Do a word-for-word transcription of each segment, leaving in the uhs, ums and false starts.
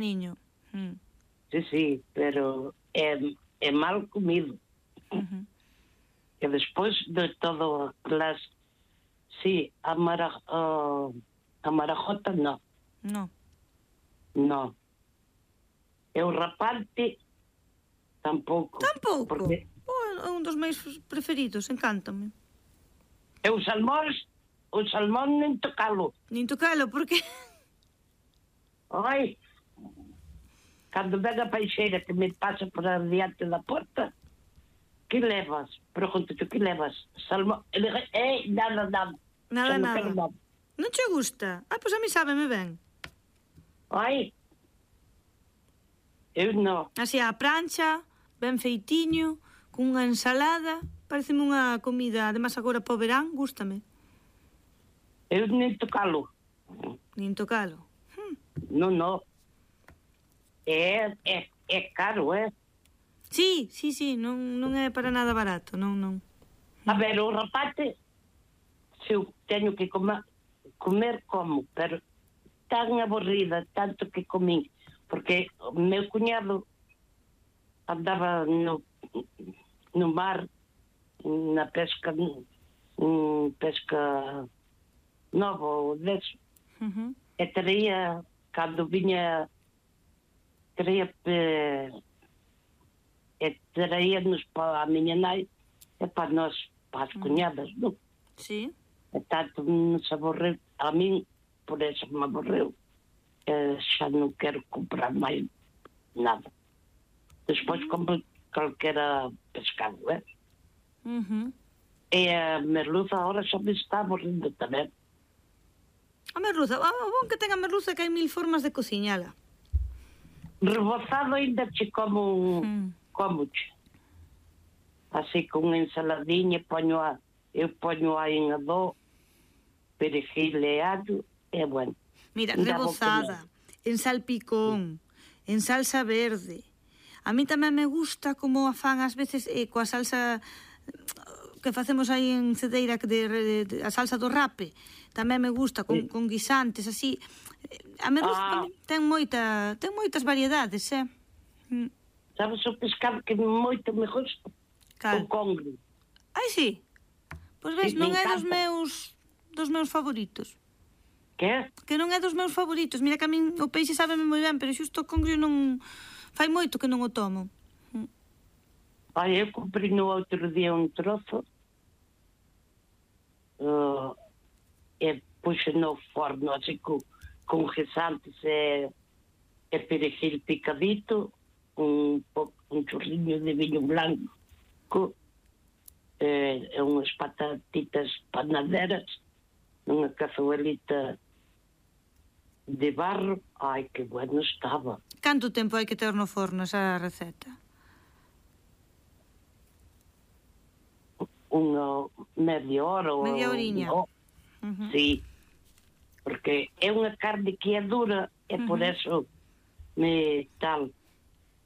niño. Mm. Sí, sí, pero é, é mal comido. Uh-huh. E despois de todo las... Sí, a, mara, uh, a marajota no. No. No. E o rapante tampouco. Tampouco? Porque... Oh, é un dos meus preferidos, encántame. E os salmóns, o salmón nin tocalo. Nin tocalo, por que? Ai, cando ven a peixeira que me pasa por adiante da porta, que levas? Pregunto-te, que levas? Salmón? E digo, eh, nada, nada. Nada, non nada. quero nada. Non che gusta? Ah, pois a mí sábeme ben. Ai, eu non. Así a prancha, ben feitiño, cunha ensalada, pareceme unha comida, además agora para o verán, gústame. Eu nin tocalo. Nin tocalo. Non, non. É, é, é caro, é? Sí, sí, sí, non, non é para nada barato, non, non. A ver, o rapate, se eu teño que comer, comer como, pero tan aburrida, tanto que comín, porque o meu cuñado andaba no, no mar, na pesca, um, pesca nova, ou deso, Uh-huh. e traía, cando viña, traía, e, e traía-nos para a miña nai, e para nós, para as cuñadas, non? Sí. E tanto nos aborreu, a min, por eso me aborreu, e xa non quero comprar máis nada. Despois compro calquera pescado, eh? Uh-huh. E a merluza agora xa me está aborrendo tamén. A merluza, o bon que ten a merluza que hai mil formas de cociñala. Rebozado ainda che como, Mm. como che. Así con ensaladiña, poño a, eu poño a en adó, perejil e allo, e bueno. Mira, Ainda vou rebozada, en salpicón, en salsa verde. A mí tamén me gusta como a fan ás veces eh, coa salsa que facemos aí en Cedeira, de, de, de, a salsa do rape. Tamén me gusta con, Sí. con guisantes, así. A merluza Ah. tamén ten moita, ten moitas variedades, eh? Mm. Sabes o pescado que moito me gusta? Cal? O congrio. Ai, sí. Pois ves, Sí, non me é dos encanta. meus dos meus favoritos. Que? Que non é dos meus favoritos. Mira que a min o peixe sábeme moi ben, pero xusto o congrio non... Fai moito que non o tomo. Ai, eu comprei no outro día un trozo uh, e puxe no forno así con, con guisantes e, e perejil picadito, un, po, un chorriño de viño blanco e, e unhas patatitas panaderas nunha cazuelita de barro. Ai, que bueno estaba. Canto tempo hai que ter no forno esa receta? Unha media hora ou... Media horiña. Oh, Uh-huh. sí, porque é unha carne que é dura e por Ujú. eso me tal.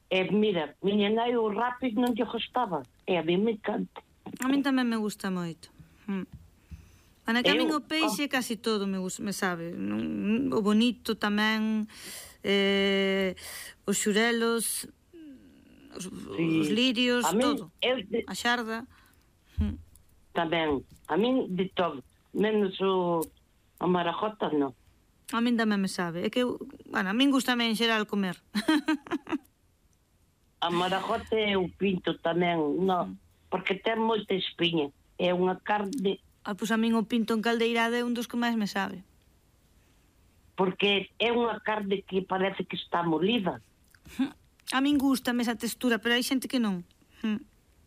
E mira, miña nai o rápido non lle gustaba, e a mí me encanta. A min tamén me gusta moito. Mm. Ana, que a min Eu- o peixe casi todo me, gusta, me sabe. Non- O bonito tamén, eh, os xurelos, os, Sí. os lirios, A min, todo. eu de, A xarda. Mm. tamén, a min de todo, menos o a marajota non. A min tamén me sabe. É que, eu- bueno, a min gusta en xeral comer. A marajota e o pinto tamén, non, porque ten moita espiña. É unha carne, Ah, pois a min o pinto en caldeirada é un dos que máis me sabe. porque é unha carne que parece que está molida. A min gustame esa textura, pero hai xente que non. Mm.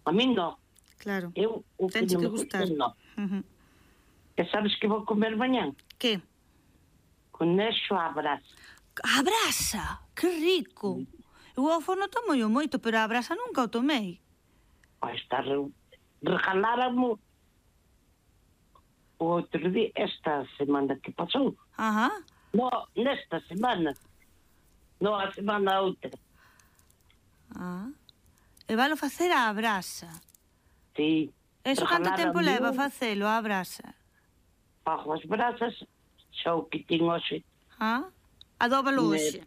A min non. Claro. Eu o que Tenche non que me gusta, gustar. non. Uh-huh. E sabes que vou comer mañán? Que? Con eixo à brasa. A brasa, que rico. Eu ao forno tomo yo moito, pero a brasa nunca o tomei. Vai estar... Regaláramos o outro día, esta semana que pasou. Ajá. No, nesta semana. No, a semana outra. Ah. E valo facer a brasa. Sí. Eso canto tempo leva Regaláramo facelo a brasa? Fago as brasas, xa o que tin hoxe. Ah? Adóbalo Me- hoxe.